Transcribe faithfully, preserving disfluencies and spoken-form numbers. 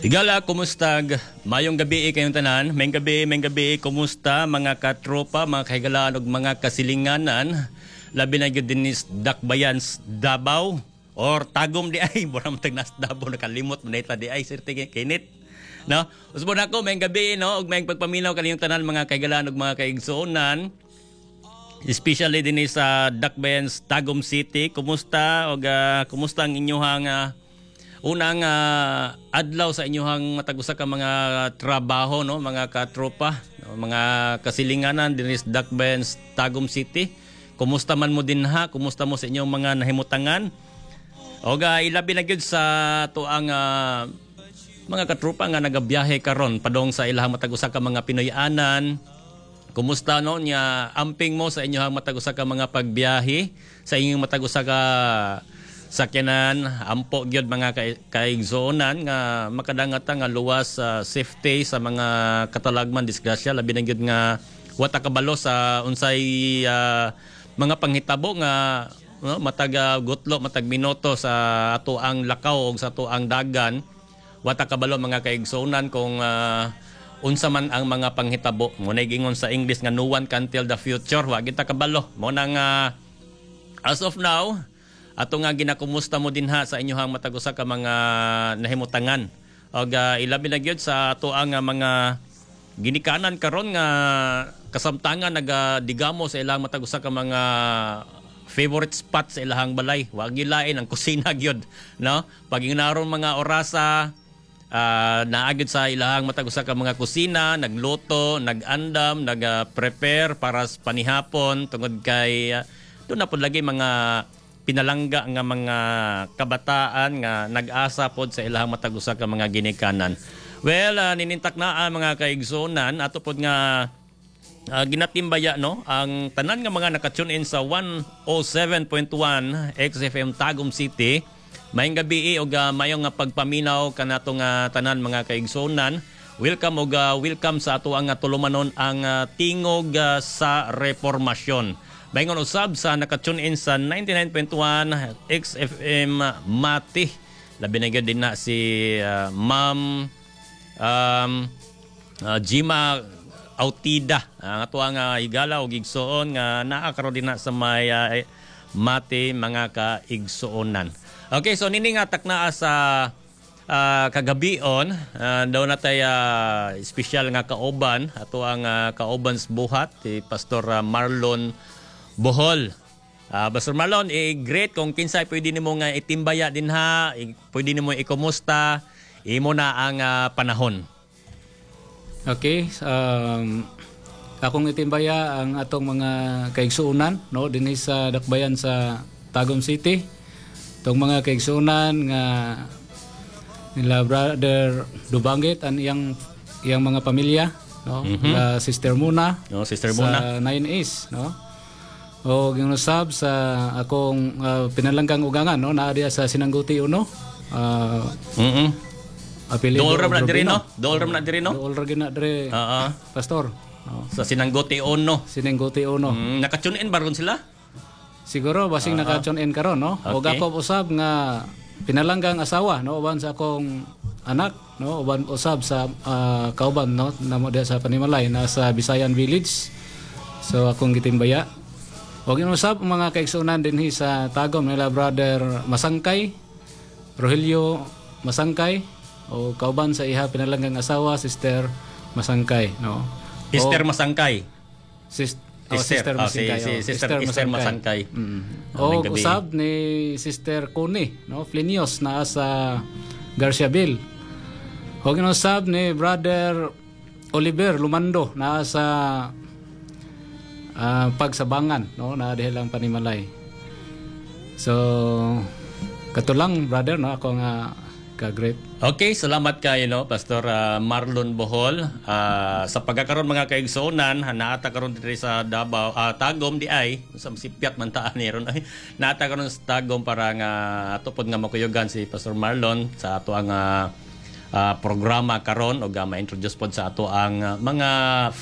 Higala, kumustag? Mayong gabi kayong tanan. Mayong gabi, mayong gabi, kumusta mga katropa, mga kahigalaan ug mga kasilinganan. Labi na gyud dinhi sa Dakbayan Davao or Tagum di ay mura man tag nas Davao nakalimot man ta di ay sir kinit. No? Usbon ako mayong gabi no ug mayong pagpaminaw kaniyong tanan mga kahigalaan ug mga kaigsuonan. Especially dinhi sa Dakbayan Tagum City. Kumusta og uh, kumusta ang inyong uh, unang uh, adlaw sa inyong matag usa ka mga trabaho no mga katropa no? mga kasilinganan dinhi sa Dakbayan Tagum City kumusta man mo dinha kumusta mo sa inyong mga nahimutangan og uh, ilabi na gyud sa tuang uh, mga katropa nga nagabiyahe karon padong sa ilahang matag usa ka mga Pinoy-anan Kumusta no nya amping mo sa inyong matag usa ka mga pagbiyahe sa inyong matag usa ka sakyanan ampo gyud mga kay kaigsuonan nga makadangat nga luwas sa uh, safety sa mga katalagman disgrasya labi na gyud nga wa ta kabalo sa unsay uh, mga panghitabo nga no, matag uh, gutlo matag minuto sa ato ang lakaw og sa ato ang dagan wa ta kabalo mga kaigsuonan kung uh, unsa man ang mga panghitabo mo na gingon sa English nga no one can tell the future wa kita kabalo mo nang uh, as of now ato nga ginakumusta mo dinha sa inyohang matag usa ka mga nahimutangan og uh, ilabi na gyud sa ato ang uh, mga ginikanan karon nga kasamtangan nagadigamo sa ilang matag usa ka mga favorite spot sa ilahang balay wa gilain ang kusina gyud no pag naron mga orasa uh, naa gyud sa ilahang matag usa ka mga kusina nagluto nagandam nag-prepare para sa panihapon tungod kay uh, doon na pod lagi mga pinalangga nga mga kabataan nga nag-asa pod sa ilahang matag usa ka mga ginikanan. Well, uh, ninintak na ang mga kaigsuonan ato pod nga uh, ginatimbaya no ang tanan nga mga naka-tune in sa one oh seven point one X F M Tagum City. Maayong gabi og uh, mayong nga pagpaminaw kanato nga tanan mga kaigsuonan. Welcome og uh, welcome sa ato ang uh, tulumanon ang uh, Tingog uh, sa Reformasyon. Maingon usab sa naka-tune in sa ninety-nine point one X F M Mati. Labi na gyud din na si uh, Ma'am um, uh, Jima Autida. Ang ato ang uh, higala og igsoon nga naa karon din na sa may uh, Mati mga kaigsuonan. Okay, so nini nga taknaa sa uh, kagabion, uh, daw na tay uh, espesyal nga kauban ato ang uh, kauban sa buhat si Pastor uh, Marlon Bohol. Uh, Pastor Marlon, eh, great kung kinsay pwede nimo nga itimbaya dinha, eh, pwede nimo ikumusta, imo na ang uh, panahon. Okay, um, akong itimbaya ang atong mga kaigsuonan no dinhi sa dakbayan sa Tagum City. Itong mga kaigsuonan nga nila Brother Dubanggit ang iyang iyang mga pamilya no, mm-hmm. nila Sister Muna, no, Sister Muna sa nine A's no. O ginusab sa akong uh, pinalanggang ugangan no naa diya sa Sinangguti Uno. Uh, mm-hmm. Apelido Dool ra na diri no? Dool ra na diri no? Dool ra na diri. Oo. Pastor. No. Sa Sinangguti Uno. Sinangguti Uno. Mm, naka-tune in ba ron sila? Siguro basing uh-huh. naka-tune in karon no. Okay. Og ako usab nga pinalanggang asawa no uban sa akong anak no uban usab sa uh, kauban no namo diha sa Panimalay na sa Bisayan Village. So akong gitimbaya. Og inusab ang mga kaigsuonan dinhi sa Tagum nila Brother Masangkay, Rogelio Masangkay o kauban sa iha pinalanggang asawa Sister Masangkay no. Sister Masangkay. Sis, oh, Sister, Sister oh, si, Masangkay. si oh. Sister, Sister Masangkay. Mm. Oh, O gabi. usab ni Sister Connie, no, Flinios na sa Garciaville. O ginusab ni Brother Oliver Lumando na sa ah, Pagsabangan, no, na diha lang Panimalay. So katulang brother no ako nga ka-great. Okay, salamat kayo no, Pastor ah, Marlon Bohol. Ah, sa pagkakaroon mga kaigsuonan, naata karon diri sa Davao, ah, Tagum di ay, sa sipyat man taan ni ron ay. Naata karon sa Tagum para nga ato pod nga makuyugan si Pastor Marlon sa ato ang ah, ah, programa karon og uh, ma-introduce pod sa ato ang ah, mga